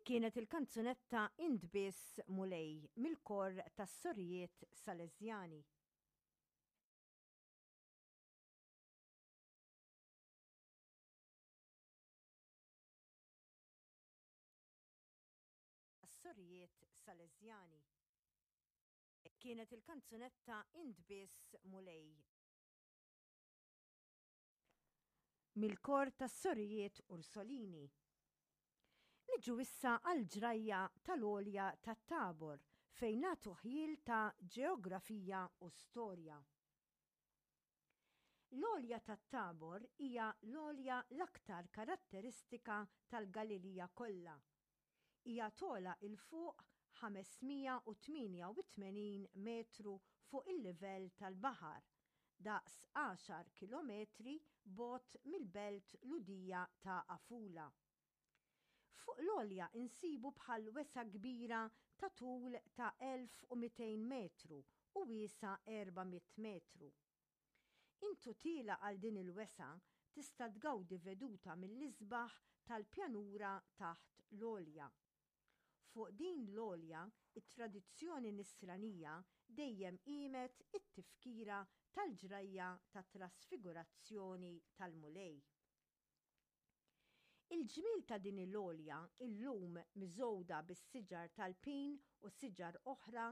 Dik kienet il-kanzunetta Int Biss Mulej mill-kor tas-Sorijiet Salesjani. Tas-Sorijiet Salesjani. Kienet il-kanzunetta Int Biss Mulej. Mill-kor tas-Sorijiet Ursolini. Niġu issa għall-ġrajja tal-għolja tat-Tabor fejn nagħtu ħjiel ta' ġeografija u storja. L-għolja tat-Tabor hija l-għolja l-aktar karatteristika tal-Galilija kollha. Hija togħla 'l fuq 588 metru fuq il-livell tal-baħar, daqs għaxar kilometri bogħod mill-belt Lhudija ta' Afula. Fuq l-għolja nsibu bħal wesgħa kbira ta' tul ta' 1,200 metru u wiesgħa 400 metru. Int u tiela' għal din il-wesgħa tista' tgawdi veduta mill-isbaħ tal-pjanura taħt l-għolja. Fuq din l-għolja t-tradizzjoni Nisranija dejjem qiemet it-tifkira tal-ġrajja tat-Trasfigurazzjoni tal-Mulej. Il-ġmiel ta' din il-għolja, illum miżgħuda bis-siġar tal-pin u siġar oħra,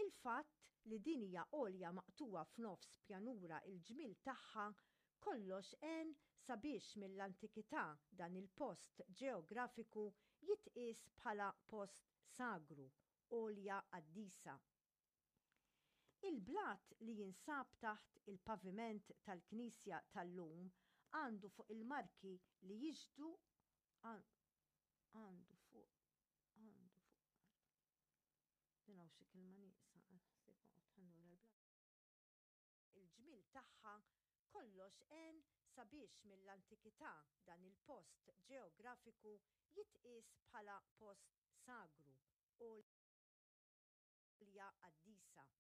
il-fatt li din hija għolja maqtugħa f'nofs pjanura il-ġmiel tagħha, kollox għen sabiex mill-antikità dan il-post ġeografiku jitqies bħala post sagru, għolja qaddisa. Il-blat li jinsab taħt il-paviment tal-knisja tal-lum għandu fuq il-marki li jixhdu għandu fuq għandu fuq din hawn xi kelma nieqsa għal ħsieb oqgħod ħa nura l-blat. Il-ġmiel tagħha kollox għen sabiex mill-antikità dan il-post ġeografiku jitqies bħala post sagru u għolja qaddisa.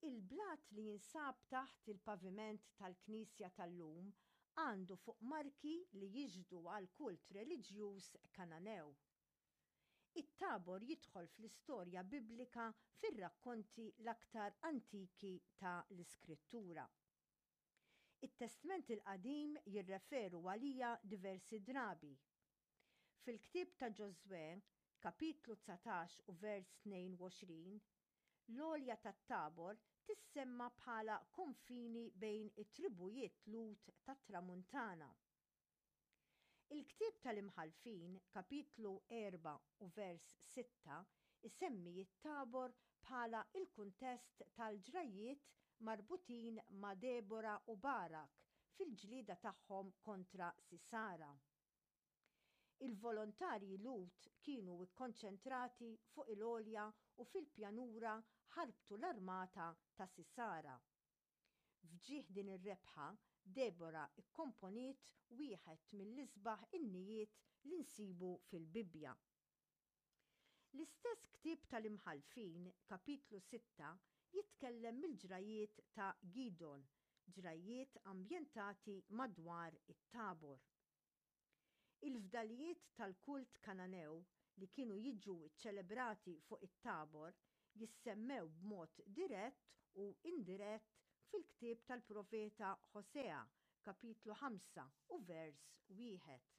Il-blat li jinsab taħt il-paviment tal-knisja tal-lum għandu fuq marki li jixhdu għall-kult reliġjuż Kananew. It-Tabor jidħol fl-istorja Biblika fir-rakkonti l-aktar antiki ta' l-Iskrittura. It-Testment il-Qadim jirreferu għaliha diversi drabi. Fil-ktieb ta' Ġożwè, kapitlu 19 u vers 22, l-għolja tat-Tabor tissemma bħala konfini bejn it-tribujiet Lhud tat-Tramuntana. Il-ktieb tal-Imħallfin, kapitlu 4 u vers 6, isemmi t-Tabor bħala l-kuntest tal-ġrajjiet marbutin ma' Debora u Barak fil-ġlieda tagħhom kontra Sisara. Il-volontarji Lhud kienu kkonċentrati fuq il-għolja u fil-pjanura ħarbtu l-armata ta' Sisara. F'ġieħ din ir-rebħa, Debora kkomponiet wieħed mill-isbaħ innijiet li nsibu fil-Bibbja. L-istess ktieb tal-Imħallfin, kapitlu sitta, jitkellem mill-ġrajjiet ta' Gidgħon, ġrajjiet ambjentati madwar it-Tabor. Il-fdalijiet tal-kult Kananew li kienu jiġu ċċelebrati fuq it-Tabor jissemmew b'mod dirett u indirett fil-ktieb tal-profeta Ħosea, kapitlu 5 u vers wieħed.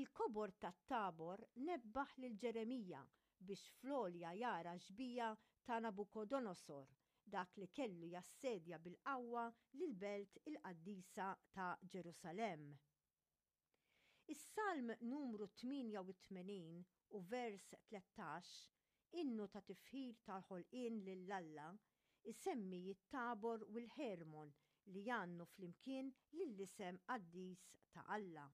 Il-kobor tat-Tabor nebbaħ lil Ġeremija biex fl-għolja jara x-xbieha ta' Nabukodonosor, dak li kellu jassedja bil-qawwa lill-belt il-qaddisa ta' Ġerusalemm. Is-Salm numru 88 u vers 13, innu ta' tifħir tal-ħolqien lil Alla, isemmi t-Tabor u l-Ħermon li jgħannu flimkien lill-isem qaddis ta' Alla.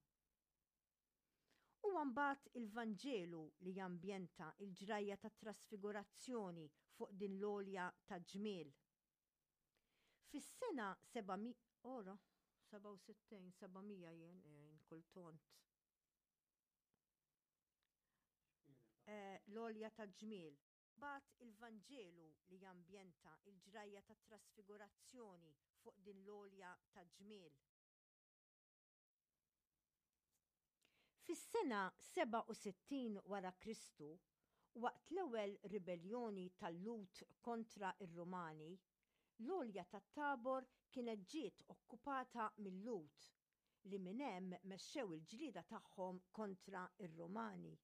Huwa mbagħad il-Vanġelu li jambjenta l-ġrajja tat-Trasfigurazzjoni fuq din l-għolja ta' ġmiel. Fis-sena 700, ora, 67, 700 jien, jien kultont. Eh, l-għolja ta' ġmiel. Mbagħad il-Vanġelu li jambjenta l-ġrajja tat-Trasfigurazzjoni fuq din l-għolja ta' ġmiel. Fis-sena 67 wara Kristu, waqt l-ewwel ribelljoni tal-Lhud kontra r-Rumani, l-għolja tat-Tabor kienet ġiet okkupata mil-Lhud, li minn hemm mexxew il-ġlieda tagħhom kontra r-Rumani.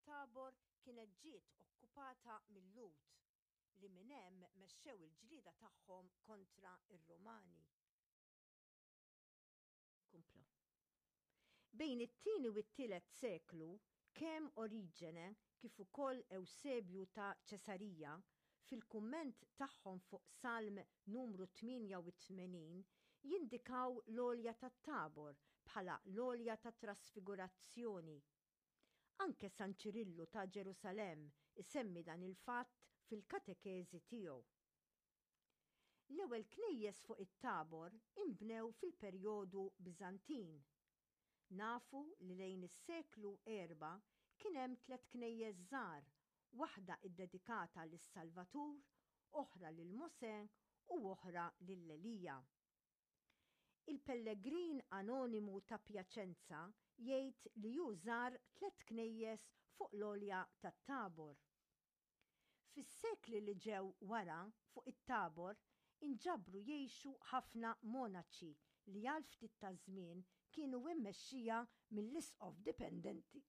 Tabor kienet ġiet okkupata mil-Lhud, li minn hemm mexxew il-ġlieda tagħhom kontra r-Rumani. Kompla. Bejn it-tieni u t-tielet seklu, kemm Oriġene kif ukoll Ewsebju ta' Ċesarija, fil-kumment tagħhom fuq Salm numru 88, jindikaw l-għolja tat-Tabor bħala l-għolja tat-Trasfigurazzjoni. Anke San Ċirillu ta' Ġerusalemm isemmi dan il-fatt fil-katekeżi tiegħu. L-ewwel knejjes fuq it-Tabor inbnew fil-perjodu Biżantin. Nafu li lejn is-seklu erbgħa kien hemm tlett knejjes żgħar, waħda ddedikata lis-Salvatur, oħra lil Mosè u oħra lil Elija. Il-pellegrin anonimu ta' Piacenza jgħid li hu żar tlett knejjes fuq l-għolja tat-Tabor. Fis-sekli li ġew wara, fuq it-Tabor inġabru jgħixu ħafna monaċi li għal ftit taż-żmien kienu immexxija mill-isqof dipendenti.